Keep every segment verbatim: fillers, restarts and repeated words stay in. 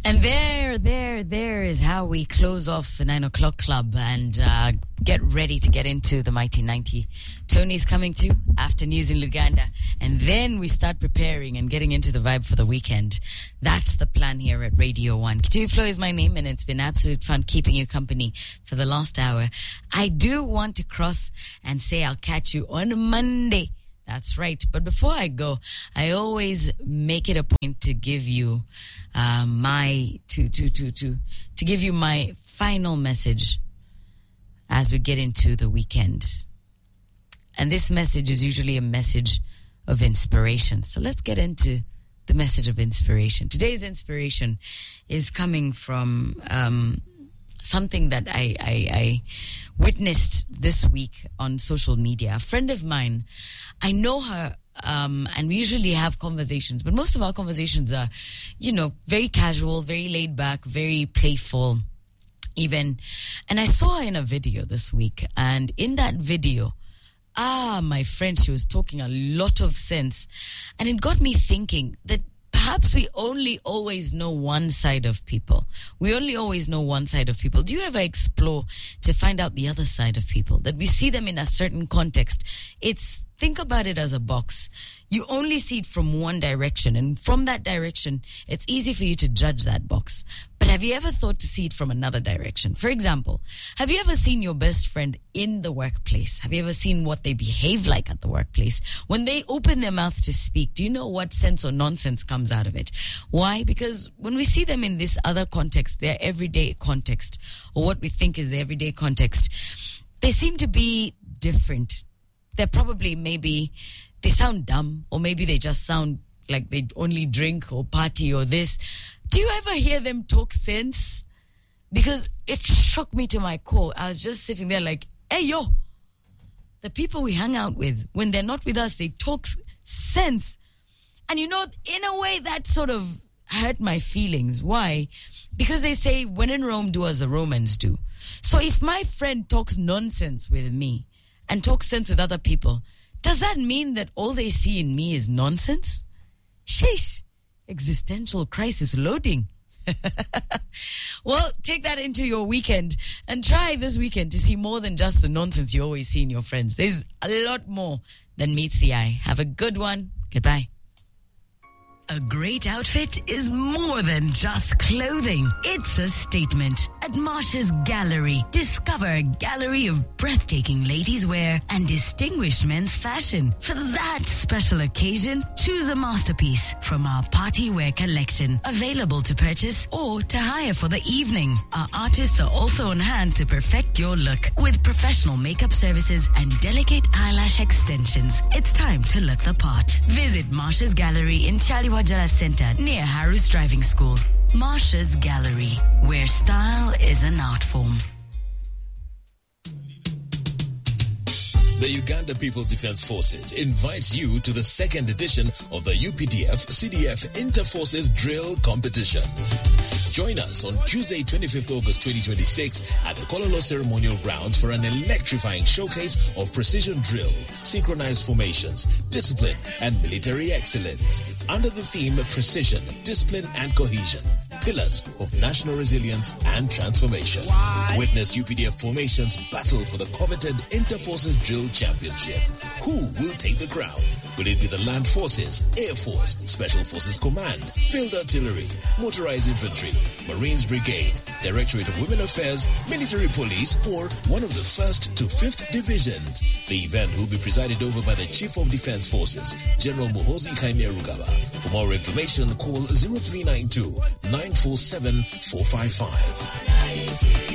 And there, there, there is how we close off the nine o'clock club and uh, get ready to get into the Mighty ninety. Tony's coming through after news in Luganda. And then we start preparing and getting into the vibe for the weekend. That's the plan here at Radio one. Kitui Flo is my name, and it's been absolute fun keeping you company for the last hour. I do want to cross and say I'll catch you on Monday. That's right. But before I go, I always make it a point to give you uh, my to to to to to give you my final message as we get into the weekend. And this message is usually a message of inspiration. So let's get into the message of inspiration. Today's inspiration is coming from um, something that I, I, I witnessed this week on social media. A friend of mine, I know her, um, and we usually have conversations, but most of our conversations are, you know, very casual, very laid back, very playful even. And I saw her in a video this week, and in that video, ah, my friend, she was talking a lot of sense. And it got me thinking that perhaps we only always know one side of people. We only always know one side of people. Do you ever explore to find out the other side of people? That we see them in a certain context. It's, think about it as a box. You only see it from one direction. And from that direction, it's easy for you to judge that box. But have you ever thought to see it from another direction? For example, have you ever seen your best friend in the workplace? Have you ever seen what they behave like at the workplace? When they open their mouth to speak, do you know what sense or nonsense comes out of it? Why? Because when we see them in this other context, their everyday context, or what we think is the everyday context, they seem to be different. They're probably maybe, they sound dumb, or maybe they just sound like they only drink or party or this. Do you ever hear them talk sense? Because it shook me to my core. I was just sitting there like, hey, yo, the people we hang out with, when they're not with us, they talk sense. And you know, in a way that sort of hurt my feelings. Why? Because they say, when in Rome, do as the Romans do. So if my friend talks nonsense with me and talks sense with other people, does that mean that all they see in me is nonsense? Sheesh. Existential crisis loading. Well, take that into your weekend and try this weekend to see more than just the nonsense you always see in your friends. There's a lot more than meets the eye. Have a good one. Goodbye. A great outfit is more than just clothing. It's a statement. At Marsha's Gallery, discover a gallery of breathtaking ladies' wear and distinguished men's fashion. For that special occasion, choose a masterpiece from our party wear collection, available to purchase or to hire for the evening. Our artists are also on hand to perfect your look with professional makeup services and delicate eyelash extensions. It's time to look the part. Visit Marsha's Gallery in Chaliwa Wajala Center near Harus Driving School. Marsha's Gallery, where style is an art form. The Uganda People's Defense Forces invites you to the second edition of the U P D F C D F Interforces Drill Competition. Join us on Tuesday, twenty-fifth August twenty twenty-six at the Kololo Ceremonial Grounds for an electrifying showcase of precision drill, synchronized formations, discipline, and military excellence. Under the theme Precision, Discipline, and Cohesion, Pillars of National Resilience and Transformation. Witness U P D F formations battle for the coveted Interforces Drill Championship. Who will take the crown? Will it be the Land Forces, Air Force, Special Forces Command, Field Artillery, Motorized Infantry, Marines Brigade, Directorate of Women Affairs, Military Police, or one of the first to fifth Divisions? The event will be presided over by the Chief of Defense Forces, General Muhoozi Kainerugaba. For more information, call zero three nine two, nine four seven, four five five.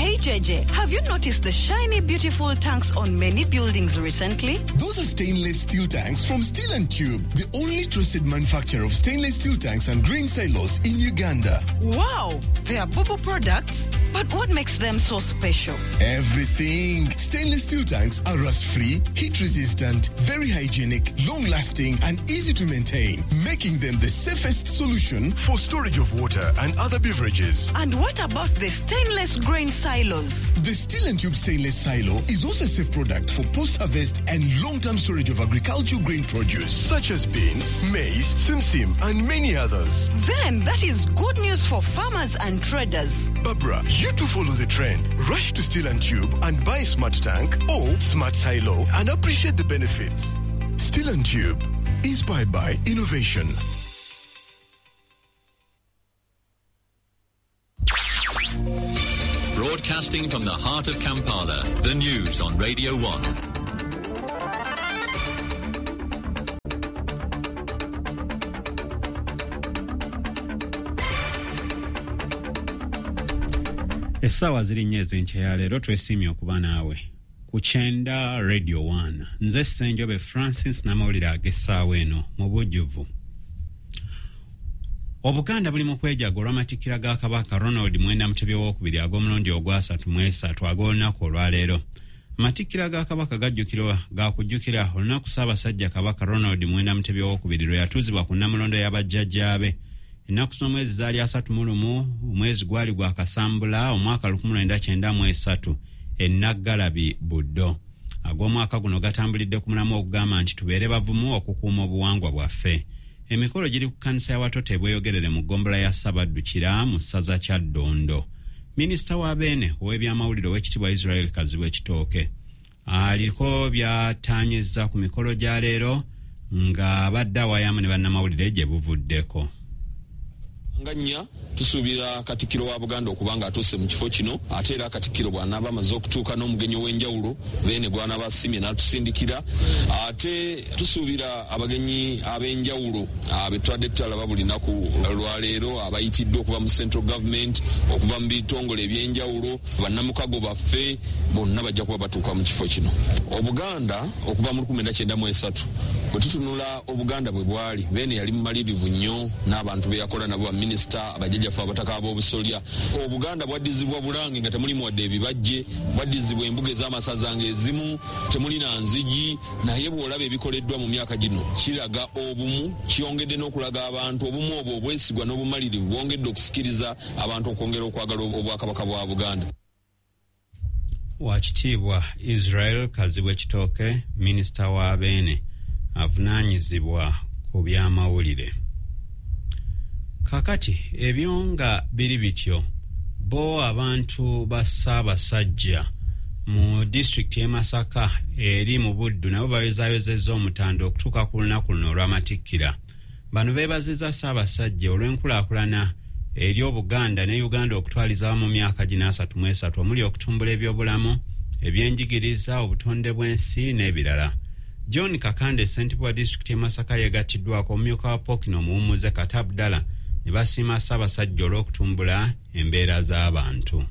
Hey J J, have you noticed the shiny, beautiful tanks on many buildings recently? Those are stainless steel tanks from Steel and Tube, the only trusted manufacturer of stainless steel tanks and grain silos in Uganda. Wow, they are Bobo products? But what makes them so special? Everything. Stainless steel tanks are rust-free, heat-resistant, very hygienic, long-lasting, and easy to maintain, making them the safest solution for storage of water and other beverages. And what about the stainless grain silos? silos. The Steel and Tube stainless silo is also a safe product for post-harvest and long-term storage of agricultural grain produce such as beans, maize, simsim, and many others. Then that is good news for farmers and traders. Barbara, you too follow the trend. Rush to Steel and Tube and buy a smart tank or smart silo and appreciate the benefits. Steel and Tube, inspired by innovation. Broadcasting from the heart of Kampala, the news on Radio one. Essaawa ziri nnya ez'enkya ya leero, twesiimye okuba naawe ku kyenda Radio one. Nze Ssenjobe Francis n'amawulire ag'essaawa eno mu bujjuvu. Obuganda buli mu kwejaga olw'amatikkira ga Kabaka Ronald Mwenda Mutebi owookubiri ag'omulundi ogwasatu mu esatu ag'olunaku olwaleero. Amatikkira ga Kabaka gajjukirwa gakujjukira olunaku Ssaabasajja Kabaka Ronald Mwenda Mutebi owookubiri lwe yatuuzibwa ku Nnamulondo y'abajjajjaabe. Ennaku z'omwezi zaali asatu mu lumu, omwezi gwali gwa Kasambula omwaka lukumi lwenda kyenda mu esatu e Naggalabi Buddo. Ag'omwaka guno gatambulidde ku mulamu ogugamba nti tubeere bavumu okukuuma obuwangwa bwaffe. Emikolo giri ku kkanisa ya Watoto ebweyogerere mu ggombolola ya Ssabaddukira mu ssaza Kyaddondo. Minisita wa Beene ow'ebyamawulire ow'ekitiibwa Israel Kazibwe Kitooke aliko byataanyizza ku mikolo gya leero ng'abadde awayamu ne bannamawulire gye buvuddeko. Nga nnya tusuubira Katikkiro wa Buganda okuba nga atuuse mu kifo kino, ate era Katikkiro bw'anaaba amaze okutuuka n'omugenyi ow'enjawulo Beene gw'anaaba asiimye n'atusindikira. Ate tusuubira abagenyi ab'enjawulo be tubadde tutalaba buli lunaku lwaleero, abayitiddwa okuva mu Central Government, okuva mu bitongole eby'enjawulo, bannamukago baffe bonna bajja kuba batuuka mu kifo kino. Obuganda okuva mu lukumi lwenda kyenda mu esatu bwe tutunula Obuganda bwe bwali, Beene yali mumalirivu nnyo n'abantu be yakola nabo, baminisita, abajjajjaffe abataka ab'obusolya. Obuganda bwaddizibwa Bulange nga temulimu wadde ebibajje, bwaddizibwa embuga ez'amasaza ng'ezimu temuli na nzigi, naye bw'olaba ebikoleddwa mu myaka gino kiraga obumu, kyongedde n'okulaga abantu obumu obwo obwesigwa n'obumalirivu bwongedde okusikiriza abantu okwongera okwagala Obwakabaka bwa Buganda. Wakitiibwa Israel Kazibwe Kitooke, minisita wa Beene avunaanyizibwa ku byamawulire. Kakati ebyo nga biri bityo, bo abantu ba Ssaabasajja mu disitulikiti y'e Masaka eri mu Buddu nabo bayozaayozezza omutanda okutuuka ku lunaku luno olw'amatikkira. Bano beebazizza Ssaabasajja olw'enkulaakulana eri Obuganda ne Uganda okutwaliza awamu mu myaka gino asatu mu esatu omuli okutumbula ebyobulamu, ebyenjigiriza, obutonde bw'ensi n'ebirala. John Kakande, ssentebe wa disitulikiti y'e Masaka, yeegattiddwako omumyuka wa Pokino omuwummuze Kata Abdallah ne basiima Ssaabasajja olw'okutumbula embeera z'abantu.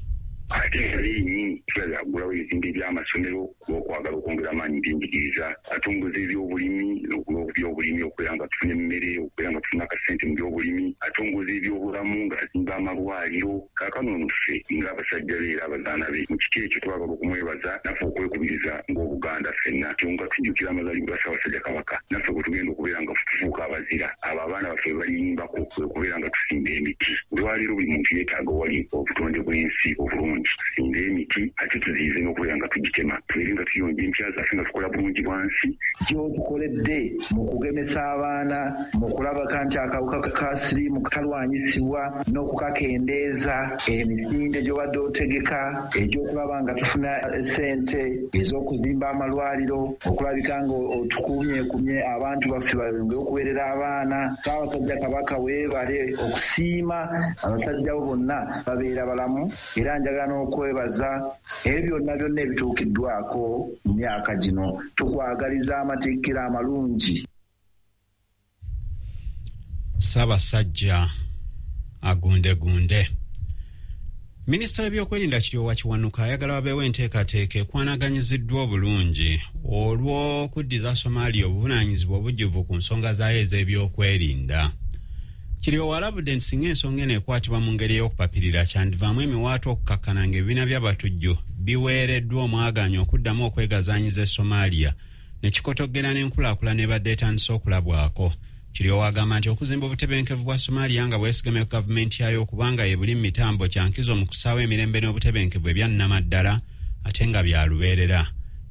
Ate nga yennyini tulabye aggulawo ebizimbe by'amasomero olw'okwagala okwongera amaanyi mu byenjigiriza, atongoza ebyobulimi n'okubyobulimi okubeera nga tufuna emmere, okubeera nga tufuna akasente mu byobulimi, atongoza ebyobulamu ng'azimba amalwaliro. Kaakano ono ffe ng'abasajja be era abazaana be mu kiti ekyo twagala okumwebaza naffe okwekubiriza ng'Obuganda ffenna nga tujjukira amazaalibwa ga Ssaabasajja Kabaka, naffe bwe tugenda okubeera nga tufuuka abazira, abo abaana baffe baliyimbako kwe kubeera nga tusimba emiti. Olwaleero buli muntu yeetaaga owali obutonde bw'ensi obulungi, tusimbe emiti ate tuziyize n'okubeera nga tugitema, tubeere nga tuyonja empya zaffe nga tukola bulungi bwansi. Gy'otukoledde mu kugemesa abaana, mu kulabaka nti akawuka ka siriimu kalwanyisibwa n'okukakendeeza, emisinde gy'obadde otegeka egy'okulaba nga tufuna ssente ez'okuzimba amalwaliro, okulabika nga otukumyekumye abantu baffe bayongere okuweerera abaana. Ssaabasajja Kabaka weebale okusiima abasajja bo bonna babeera balamu, era njagala n'okwebaza ebyo byonna byonna ebituukiddwako mu myaka gino. Tukwagaliza amatikkira amalungi. Ssaabasajja agundegunde. Minisita w'ebyokwerinda Kiryowa Kiwanuka ayagala wabeewo enteekateeka ekwanaganyiziddwa obulungi olw'okuddiza Somalia obuvunaanyizibwa obujjuvu ku nsonga zaayo ez'ebyokwerinda. Kiryowa alabudde nti singa ensonga eno ekwatibwa mu ngeri ey'okupapirira kyandivaamu emiwaatwa okukakkana ng'ebibiina by'abatujju biweereddwa omwagaanya okuddamu okwegazaanyiza e Somalia ne kikotoggera n'enkulaakulana ebadde etandise okulabwako. Kiryowa agamba nti okuzimba obutebenkevu bwa Somalia nga bwesigamye ku gavumenti yayo okubanga ye buli mitambo kyankizo mu kusaawo emirembe n'obutebenkevu ebyannamaddala ate nga bya lubeerera.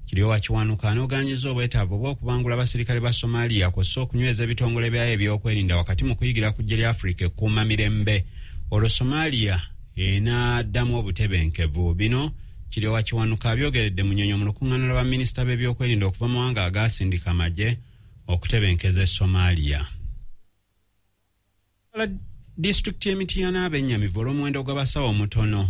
Kiryowa Kiwanuka anogaanyiza obwetaavu obw'okubangula abasirikale ba Somalia kw'ossa okunyweza ebitongole byayo ebyokwerinda wakati mu kuyigira ku ggye lya Afrika ekkuuma mirembe, olwo Somalia enaaddamu obutebenkevu. Bino Kiryowa Kiwanuka abyogeredde mu Nnyonyo mu lukuŋŋaana lwa baminisita b'ebyokwerinda okuva mu mawanga agaasindika amagye okutebenkeza e Somalia. Disitulikiti y'e Mityana abennyamivu olw'omuwendo gw'abasawo omutono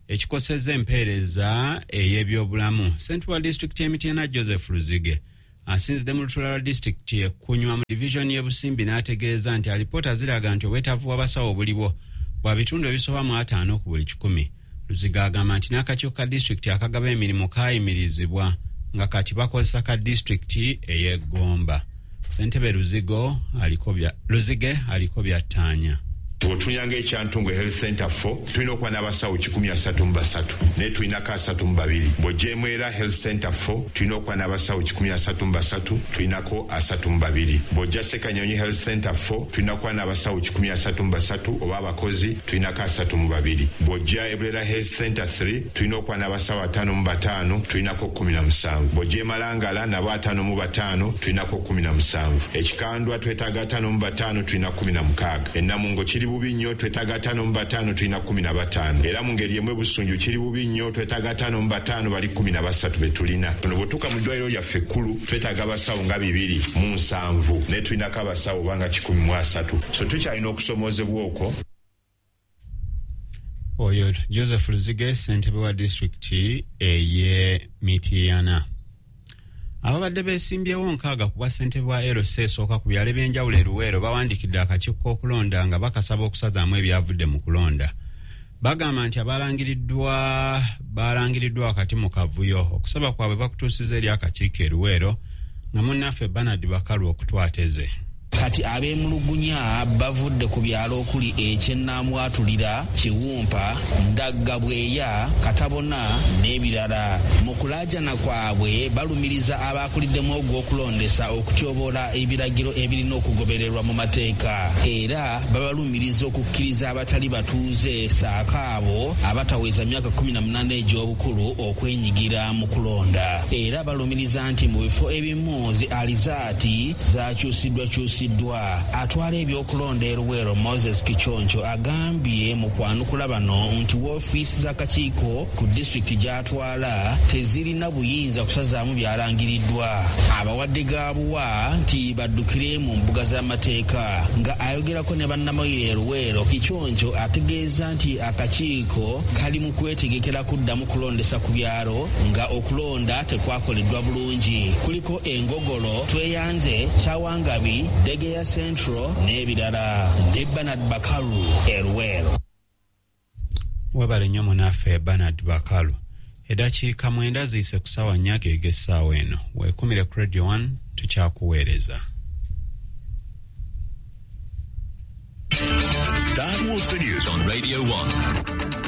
ekikosezza empeereza ey'ebyobulamu. Ssentebe wa disitulikiti y'e Mityana Joseph Luzige asinzidde mu lutuula lwa disitulikiti ekkunywa mu divizoni y'e Busimbi n'ategeeza nti alipoota ziraga nti obwetaavu bw'abasawo obuliwo bwa bitundu ebisoba mu ataano ku buli kikumi. Luzige agamba nti n'akakiiko ka disitulikiti akagaba emirimu kaayimirizibwa nga kati bakozesa ka disitulikiti ey'e Gomba. Ssentebe Luzigo aliko bya Luzige aliko byattaanya. Bw'otunyanga ekyantungu Health Center four tulina okuba n'abasawo kikumi asatu mu basatu naye tulinako asatu mu babiri. Bw'ogyemu era Health Center four tulina okuba n'abasawo kikumi asatu mu basatu tulinako asatu mu babiri. Bw'ojja Ssekanyonyi Health Center four tulina okuba n'abasawo kikumi asatu mu basatu oba abakozi tulinako asatu mu babiri. Bw'ojja Ebulera Health Center three tulina okuba n'abasawo ataano mu bataano tulinako kkumi na musanvu. Bw'ojja Emalangala nabo ataano mu bataano tulinako kkumi na musanvu. Ekikandwa twetaaga ataano mu bataano tulina kkumi na mukaaga. Ennamungo kiri bubi nnyo twetaaga ataano mu bataano tulina kkumi na bataano. Era mu ngeri emu Busunju kiri bubi nnyo twetaaga ataano mu bataano bali kkumi na basatu be tulina. Ono bw'otuuka mu ddwaliro lyaffe ekkulu twetaaga abasawo nga bibiri mu nsanvu naye tulinako abasawo banga kikumi mu asatu. So tukyalina okusomoozebwa okwo. Oyo Joseph Luzige ssentebe wa disitulikiti ey'e Mityana. Ababadde beesimbyewo nkaaga ku bwa ssentebe wa L C esooka ku byalo eby'enjawulo e Luweero bawandiikidde akakiiko k'okulonda nga bakasaba okusazaamu ebyavudde mu kulonda. Bagamba nti abalangiriddwa balangiriddwa wakati mu kavuyo. Okusaba kwabwe bakutuusiza eri akakiiko e Luweero nga munnaffe Bernard Bakalu okutwateze. Kati ab'emulugunya bavudde ku byalo okuli ekyennamwatulira, Kiwumpa, Ndagga Bweya, Katabona n'ebirala. Mu kulaajana kwabwe balumiriza abakuliddemu ogw'okulondesa okutyoboola ebiragiro ebirina okugobererwa mu mateeka. Era babalumiriza okukkiriza abatali batuuze ssaako abo abataweza myaka kkumi na munaana egy'obukulu okwenyigira mu kulonda. Era balumiriza nti mu bifo ebimu zi alizaati zakyusiddwakyusiddwa. Atwala ebyokulonda e Luweero Moses Kichoncho agambye mu kwanukula bano nti woofiisi z'akakiiko ku disitulikiti gy'atwala tezirina buyinza kusazaamu byalangiriddwa. Abawadde gaabuwa nti baddukire mu mbuga z'amateeka. Nga ayogerako ne bannamawulire e Luweero, Kichoncho ategeeza nti akakiiko kali mu kwetegekera kuddamu kulondesa ku byalo nga okulonda tekwakoleddwa bulungi. Kuliko Engogolo, Tweyanze, Kyawangabi, Degeya Central n'ebirala. Ndi Bernard Bakalu e Luweero. Webale nnyo munaffe Bernard Bakalu. Eddakiika mwenda ziyise ku ssaawa nnya ag'essaawa eno. Weekumire ku Radio one tukyakuweereza. That was the news on Radio one.